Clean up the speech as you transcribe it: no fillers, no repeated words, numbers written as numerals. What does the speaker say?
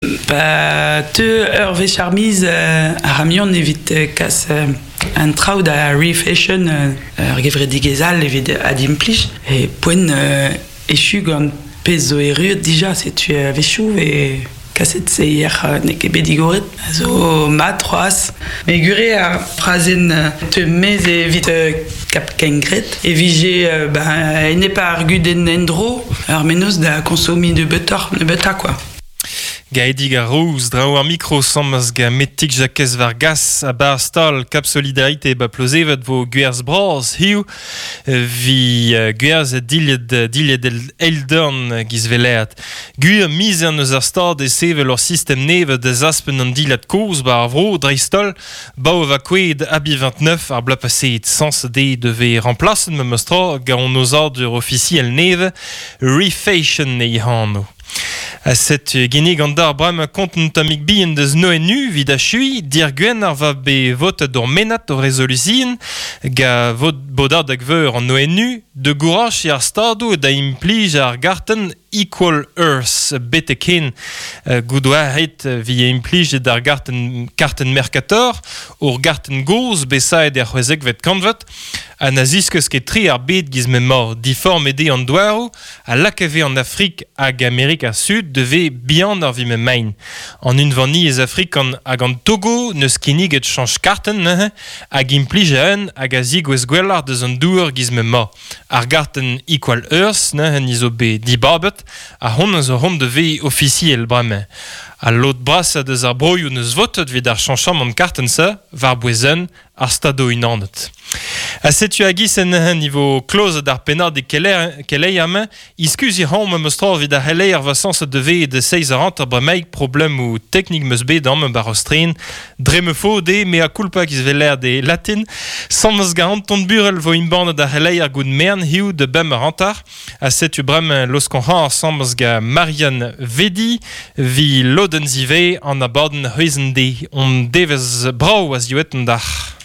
Pa teu ur wech ar miz ar c'hamion evit kas an traoù da refashion ur gevredigezh all evit adimplij e poent echu gant pezh zo erruet dija setu a-wechoù e kaset seier n'eo ket bet digoret a zo mat c'hoazh. Me gure ar frazenn teu maez evit kap kengred e vije ba enep ar gudenn endro ar mennozh da konsomiñ nebeutoc'h nebeutañ kwa. Gaedig ar Rouz, draoù ar mikro sammaz ga Metig Jakez Vargas a bar stal Cap Solidarité ba Plozeved vo gwerz bras hiziv vi gwerz dilhad dilhad eildorn giz veleat. Gwir mizern eus ar stad e sevel ur sistem nevez da zaspen an dilhad kozh ba ar vro dreist-holl Bao va kouezhet Abi 29 ar bloaz paseet sañs dezhe devez remplaset memes tra gant an aozadur ofisiel nevez Refashion e anv. Ha setu ginnig an dar bremañ kont un tammig bihan deus Noenu evit achuiñ dir-gwenn ar va bet votet ur mennad o rezolusion ga vot bodadeg veur an ONU de gourachiñ ar stadoù da implij ar gartenn Equal Earth betek hen goût oa ret vi implijet ar gartenn kartenn Mercator ur gartenn gozh bet saet er c'hwezekvet kantved ha na ziskouez ket tre ar bed giz m'emañ diformet eo an douaroù a lakafe an Afrik hag Amerik ar Sud da vezañ bihanoc'h evit m'emaint. An Unvaniezh afrikan hag an Togo n'eus kinniget chañch kartenn neuze hag implij a-un hag a zigouez gwelloc'h deus an douar giz m'emañ. Ar gartenn Equal Earth neuze ni zo bet dibabet ha honnezh zo hont da vezañ ofisiel bremañ. Al lod brasañ deus ar broioù n'eus votet evit ar chañchamant kartenn-se war-bouez un ar Stadoù-Unanet. Ha setu a-giz en nivo klozet ar pennadig keleier-mañ, iskuziñ 'raomp memes tra evit ar c'heleier va sañset da vezañ da seizh eur hanter bremaik problemoù teknik 'm eus bet amañ 'ba Rostren. Dre ma faot eo mea culpa giz 'vel e latin. Sañs gant Anton Burel vo embannet ar c'heleier gout mern hiziv da bemp eur hanter. Ha setu bremañ laoskañ 'ra asambles gant Marianne Vedi 'vit lodenn zivez an abadenn c'hwezh-en-deiz. Hon devezh brav a ziwezhañ dac'h.